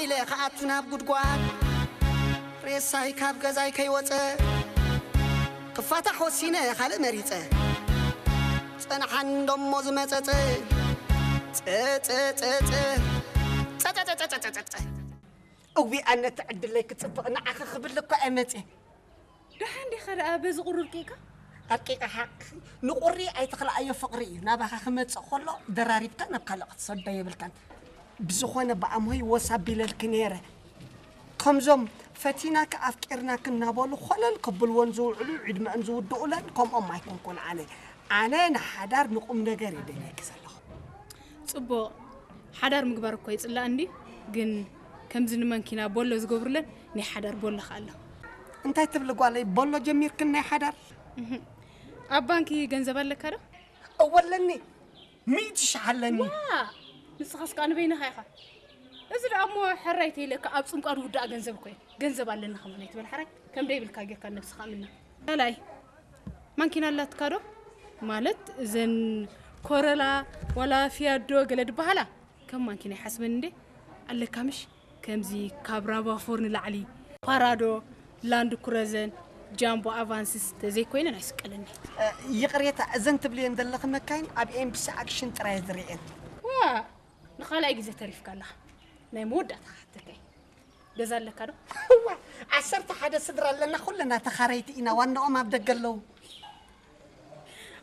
ኢለ ክኣቱ ናብ ጉድጓድ፣ ሬሳይ ካብ ገዛይ ከይወፀ፣ ክፋታሕ ወሲነ ካልእ መሪፀ። ፀንሓን ደሞ ዝመፀፀ፣ ፀፀፀፀፀ፣ ፀፀፀፀፀፀፀ። እዊ ኣነ እቲ ዕድለይ ክፅብቕ ንዓኺ ክብል እኮ እየ መፅየ። ደሓን ዲኻ ደኣ በዚ ቁሪ ኣርቂቕካ? ኣርቂቐ ሓቂ ንቁሪ ኣይትኽልኣዮ ፍቕሪ እዩ። ናባኻ ክመጽእ ከሎ ደራሪብካ ናብ ካልእ ክትሰዶ የብልካን። ብዝኾነ ብኣምሆይ ወስ ኣቢለልኪ ነይረ። ከምዞም ፈቲናኪ ኣፍቂርናኪ እናበሉ ኮለል ከብልወን ዝውዕሉ ዕድመአን ዝውድኡለን ከምኦም ኣይኮንኩን ኣነ። ኣነ ንሓዳር ንቁም ነገር እየ ደልየኪ ዘለኹ። ጽቡቕ። ሓዳር ምግባር እኮ ይጽላእ እንዲ፣ ግን ከምዚ ንመንኪና ቦሎ ዝገብሩለን ናይ ሓዳር ቦሎ ከ ኣሎ። እንታይ ትብሊ ጓለይ፣ ቦሎ ጀሚርክን ናይ ሓዳር? እህ። ኣብ ባንኪ ገንዘብ ኣለካ ዶ? እወ ኣለኒ፣ ሚእቲ ሽሕ ኣለኒ። ዋ! ንስኻስ ከኣ ንበይንኻ ኢኻ። እዚ ደኣ እሞ ሕራይ ተይለካ ኣብ ጽምቋ ዝውዳእ ገንዘብ እኮ እዩ። ገንዘብ ኣለኒ ከማን ኣይትበል ሕራይ። ከም ደይብልካ ጌርካ ነብስኻ እምና። ካልኣይ፣ ማንኪና ኣላትካ ዶ? ማለት እዘን ኮረላ ዋላ ፊያዶ ገለ ድበሃላ ከም ማንኪና ይሓስበን እንዴ? ኣለካ ምሽ? ከምዚ ካብ ራቫ ፎር ንላዕሊ ፓራዶ፣ ላንድ ክሩዘን፣ ጃምቦ ኣቫንስስ ተዘይኮይነን ኣይስቀለኒ። እ፣ ይቕሬታ፣ እዘን ትብልየን ዘለኺ መካይን ኣብ ኤምቢሲ ኣክሽን ጥራይ ዝርእየን። ዋ፣ ንኻልኣይ ግዜ ተሪፍካ ኣለኻ። ናይ መወዳእታ ክሓተካ እየ። ገዛ ኣለካ ዶ? እዋ፣ ዓሰርተ ሓደ ስድራ ኣለና፣ ኩልና ተኻረይቲ ኢና፣ ዋናኦም ኣብ ደገ ኣለዉ።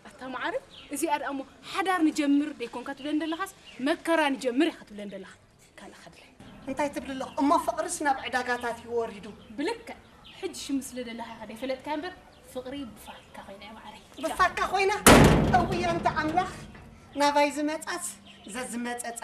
ኣታ መዓረይ፣ እዚኣ ደኣ እሞ ሓዳር ንጀምር ደይኮንካ ትብለን ዘለኻስ መከራ ንጀምር ኢኻ ትብለን ዘለኻ። ካልእ ከድለ። እንታይ ትብሊ ኣለኹ? እሞ ፍቕርስ ናብ ዕዳጋታት እዩ ወሪዱ። ብልክዕ፣ ሕጂ ሽም ስለ ደለኻ ኢኻ ደይፈለጥካ እምበር፣ ፍቕሪ ብፋካ ኮይና እያ መዓረይ። ብፋካ ኮይና? እውይ ኣንታ ኣምላኽ፣ ናባይ ዝመጻስ ዘዝመጸጻ።